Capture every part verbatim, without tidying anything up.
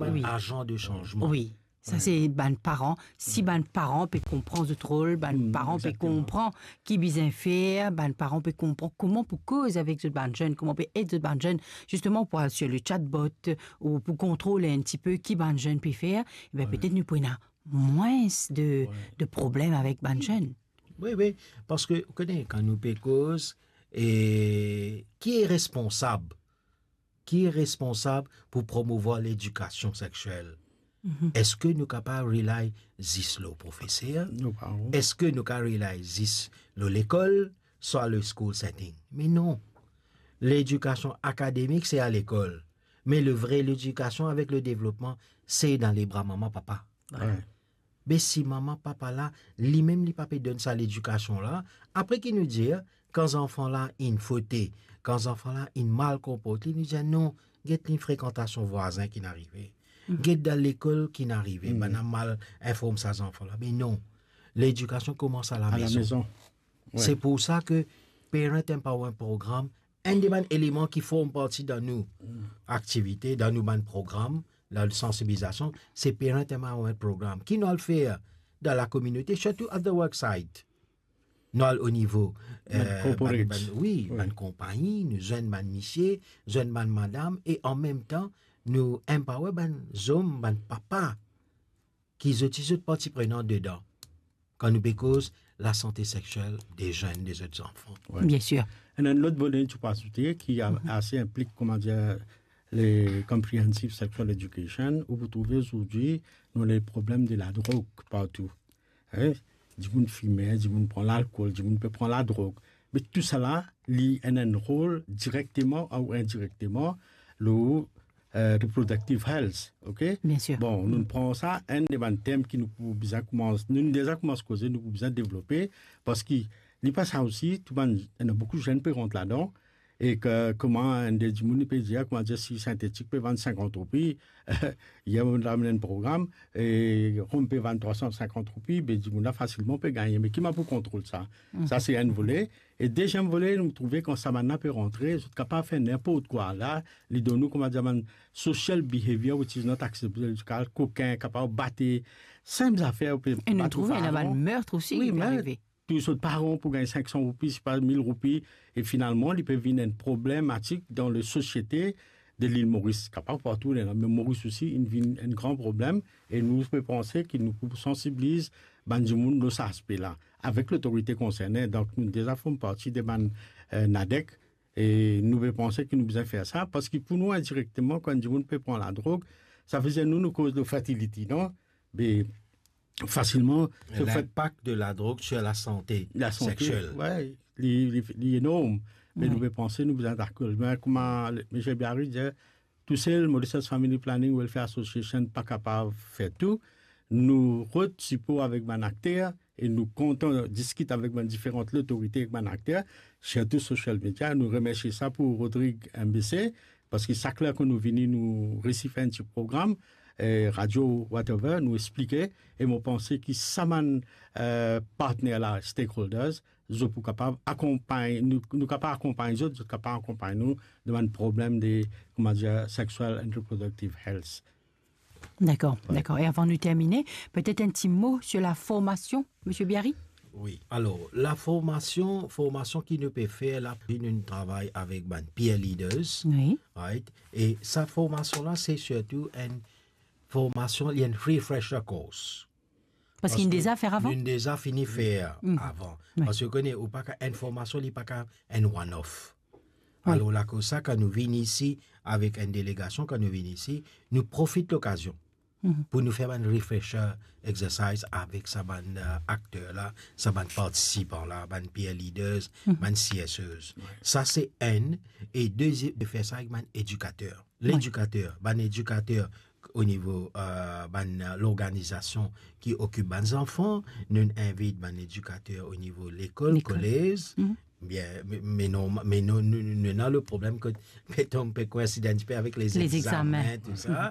Wi. Agent de changement. Wi. Sa se bann paran. Si bann paran pe konpran zot rol, bann paran pe konpran ki bizin fer, bann paran pe konpran kouma pou koz avek zot bann zenn, kouma pe ed zot bann zenn, zisteman pou al sur le chatbot ou pou kontrol enn tipe ki bann zenn pe fer, e ben, petet nou pou ena mwins de, de problem avek bann zenn. Wi, wi, parski, ou kone, kan nou pe koz, e ki e responsab? Ki e responsab pou promouvwar ledikasion sexiel? Eski nou kapav rely zis lor profeser? Eski nou kapav rely zis lor lekol, swa le school setting? Me non. Ledikasion akademik, se a lekol. Me le vre ledikasion avek le devlopman, se dan lebra mama, papa. Wi. Be si mama, papa la, limem li pa pe donn sa ledikasion la, apre ki nou dir, kan zanfan la inn fote, kan zanfan la inn mal konporte li, nou dir, "Non, get li frekantasion vwazin ki'nn arive. Get dan lekol ki'nn arive, bann la mal inform sa zanfan la." Me non, ledikasion koumans a lamezon. Wi. Se pou sa ke Parent Empowerment Program, enn de bann eleman ki form parti dan nou aktivite, dan nou bann program, dan sansibilizasion, se Parent Empowerment Program. Ki nou al fer dan lakominote, sirtou at the work site. Nou al o nivo, bann, eh, corporate, bann, bann, wi, wi, bann konpagni, nou zwenn bann misie, zwenn bann madam, e an mem tan, nou empower bann zom, bann papa, ki zot, zot parti prenan dedan. Kan nou pe koz lasante sexiel de zenn, de zot zanfan. Wi. Bien sir. Enn, enn lot vole, ti pou azoute, ki a-, ase inplik, kouma dir, le comprehensive sexual education, ou pou trouve azordi, nou ena problem de ladrog partou. Hein? Dimoun fime, dimoun pran lalkol, dimoun pe pran ladrog. Me tousala, li ena enn rol direkteman ou indirekteman lor, eh, reproductive health, ok? Bien sir. Bon, nou pran sa, enn de bann tem ki nou pou bizin koumans, nou deza koumans koze, nou pou bizin devlope, parski li pa sa osi, tou bann, ena boukou zenn pe rant ladan, e ke, kouma enn de dimoun pe dir, kouma dir, si sintetik pe vann sinkant roupi, yer mo amenn enn program, e rom pe vann trwa san sinkant roupi, be dimoun la fasilman pe gagne. Me ki mannier pou kontrol sa? Sa se enn vole. E deziem vole, nou trouve kan sa bann la pe rantre, zot kapav fer ninport kwa la, li donn nou, kouma dir, bann social behavior which is not acceptable, kokin, kapav bate, sinp zafer, ou pe... E nou trouve ena bann mert osi ki pe arive. Touy so paran pou gagn sink san roupi, sipa mil roupi, e finalman, li pe vinn enn problematik dan lasosiete de Lil Moris. Kapav partou, me Moris osi, inn vinn enn gran problem, e nou pe panse ki nou pou sansibiliz bann dimoun lor sa aspe la, avek lotorite konserne. Donk, nou deza form parti de bann, eh, NADEC, e nou pe panse ki nou bizin fer sa, parski pou nou, indirekteman, kan dimoun pe pran ladrog, sa vedir nou, nou koz lor fertility, non? Be, fasilman, so fet... L'inpak de la drogue sur la santé sexuelle. Wi, li, li, li enorm. Me nou pe panse, nou bizin dakor. Me kouma le, Misie Biary dir, tousel, Mauritius Family Planning Welfare Association pa kapav fer tou. Nou rod sipor avek bann akter e nou kontan diskit avek bann diferan lotorite, ek bann akter, sirtou social media. Nou remersie sa pou Rodrigue M B C, parski sak ler kan nou vini, nou resi fer enn ti program, eh, radio, whatever, nou explike, e mo panse ki sa bann, eh, partner la, stakeholders, zot pou kapav akonpagn, nou, nou kapav akonpagn zot, zot kapav akonpagn nou dan bann problem de, kouma dir, sexual and reproductive health. Dakor, dakor. E avan nou termine, petet enn ti mo sur la formasion, Misie Biary? Wi. Alor, la formasion, formasion ki nou pe fer la, nou travay avek bann peer leaders, wi, right? E sa formasion la, se sirtou enn formasion, li enn refresher course. Parski nou deza fer avan? Nou deza fini fer avan. Wi. Parski ou kone, ou pa ka, enn formasion, li pa ka enn one-off. Wi. Alor, lakoz sa, kan nou vinn isi avek enn delegasion, kan nou vinn isi, nou profit lokazion pou nou fer bann refresher exercise avek sa bann, eh, akter la, sa bann partisipan la, bann peer leaders, bann C S Es. Wi. Sa se enn, e deziem, de fer sa avek bann edikater. Wi. Ledikater, bann edikater o nivo, eh, bann, eh, lorganizasion ki okip bann zanfan, nou invit bann edikater o nivo lekol, lekol, kolez, bien, me, me non, me nou, nou, nou, nou ena le problem ke petet pe koinsid enn tipe avek lezegzamen, tou sa.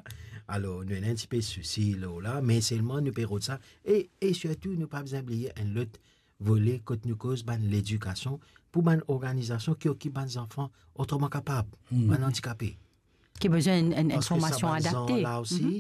Alor, nou ena enn tipe sousi la, la, me selman nou pe rod sa. E, e sirtou, nou pa bizin bliye enn lot vole kot nou koz bann ledikasion pou bann organizasion ki okip bann zanfan otreman kapab, bann andikape. Ki bizin enn, enn, enn formasion adapte. Parski sa bann zan la osi,